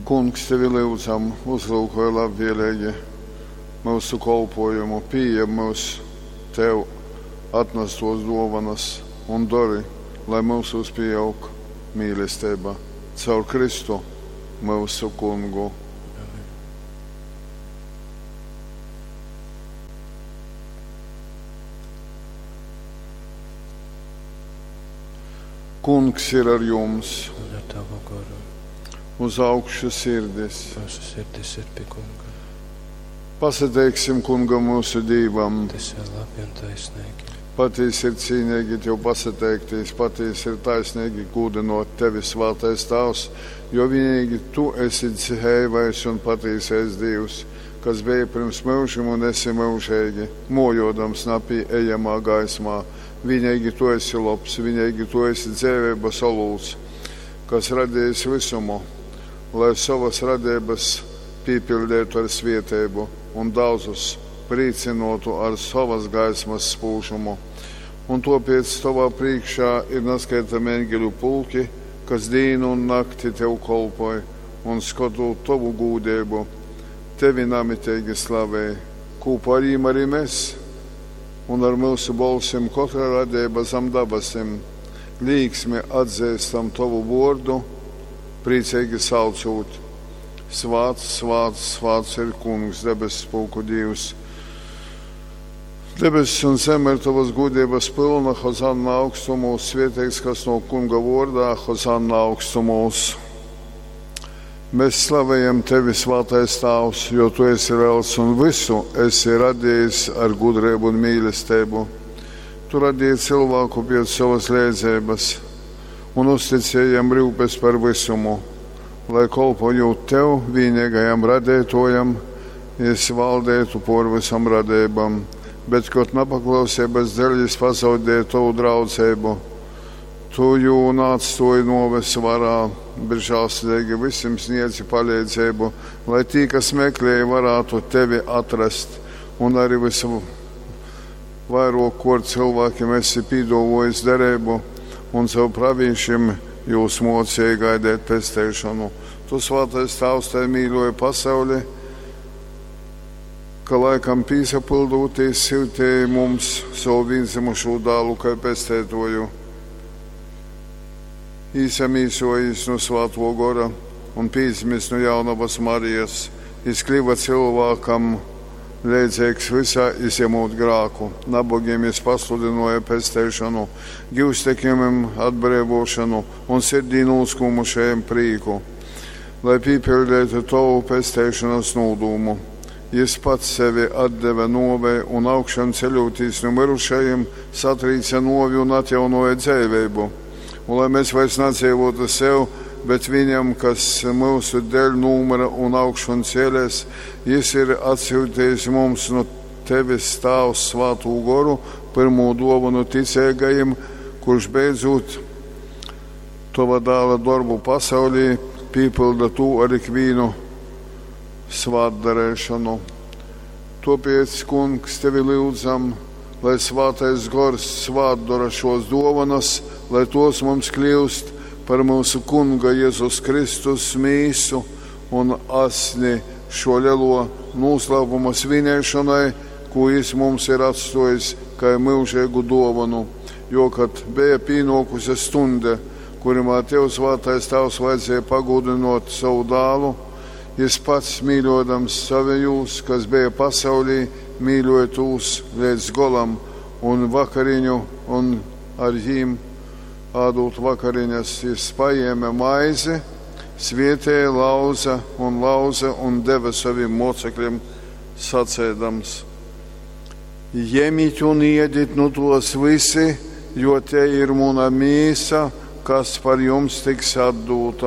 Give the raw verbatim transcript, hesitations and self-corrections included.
Kungs, tevi lyudzam, uzlyukoj labvēlīgi myusu kolpojumu, pījem mūs tev atnastos duovanas un dori, lai mūsos pieaug mīlestība. Caur Kristu myusu kungu. Amen. Kungs ir ar jums, Un ar tavu goru. Uz augšu sirdis. Mūsu sirdis ir pie kunga. Pasateiksim kungam mūsu Dīvam. Tas ir labi un taisnīgi. Patiesi ir cīnīgi tev pasateikties, patiesi ir taisnīgi gūdinot tevi, svētais Tēvs, jo vienīgi tu esi dzīvais un patiesais Dievs, kas bija pirms mūžiem un esi mūžīgi, mojodams napieejamā gaismā. Vienīgi tu esi labs, vienīgi tu esi dzīvības olūts, kas radījis visumu, lai savas radības piepildītu ar svietēbu un daudzus priecinotu ar savas gaismas spūžumu. Un tāpēc tavā priekšā ir neskaitami eņģeļu pulki, kas dienu un nakti tev kolpoja un skatot tavu gūdību, tevi namitīgi slavēja. Kopā ar viņiem arī mēs un ar mūsu balsim katra radība zem dabasim līksmi atzīstam tavu vārdu, priecīgi saucot. Svāts, svāts, svāts ir kungs, debesu pulku Dievs. Debesis un zeme ir tavas gudrības pilna, Hozanna augstumos, svētīgs, kas no kunga vārdā, Hozanna augstumos. Mēs slavējam tevi, svētais Tēvs, jo tu esi liels un visu esi radījis ar gudrību un mīlestību. Tu radīji cilvēku pēc savas līdzības un uzticēji jam rūpes par visumu, lai kolpojot tev, vienīgajam radītājam, jis valdētu por visam radībam, bet, kad nepaklausības dēļ jis pazaudēja tavu draudzību, tu jū neatstāji noves varā, bet žēlsirdīgi visiem sniedzi palīdzību, lai tie, kas meklēja, varētu tevi atrast, un arī visu vairāk, kur cilvēkiem esi pīdovojis derību, un caur pravīšiem jūs mocīja gaidīt pesteišanu. Tu, svētais Tēvs, tai mīļoji pasauli, ka laikam pīsapildūties siltēji mums savu vienzimušo dālu kā pestētoju. Īsamīsojis no svēto gora un pīdzimis no jaunavas Marijas, jis kļuva cilvēkam leidzīgs visā izņemot grāku. Nabagiem jis pasludināja pesteišanu, gūstekņiem atbrīvošanu un sirdī noskumušajiem prieku, lai piepildītu tavu pesteišanas nodūmu. Jis pats sevi atdeva novei un augšām ceļoties no mirušajiem, satrīca novi un atjaunoja dzīvību. Un lai mēs vairs nedzīvotu sev, bet viņam, kas mūsu dēļ numura un augšanu cēlēs, jis ir atsūtījis mums no tevis Tēvs svētū goru, pirmo dāvanu ticīgajiem, kurš beidzot tava dēla darbu pasaulī piepilda tu ar ikvienu svētdarēšanu. Tāpēc, kungs, tevi lūdzam, lai svētais gors svētdara šos dāvanas, lai tos mums kļūst par mūsu kunga Jēzus Kristus mīsu un asni šo lielo noslēpuma svinēšanai, ko jis mums ir atstājis kā mūžīgu dāvanu. Jo, kad bija pienākusi stunde, kurimā tev svētais Tēvs vajadzēja pagodinot savu dēlu, jis pats mīļodams savējus, kas bija pasaulī, mīļoja tūs līdz golam un vakariņu un ar jīm ādūt vakariņas, jis paēma maizi, svietēja, lauza un lauza un deva saviem mocekļiem, sacēdams: Ņemiet un iediet nu tos visi, jo te ir mana mīsa, kas par jums tiks atdota.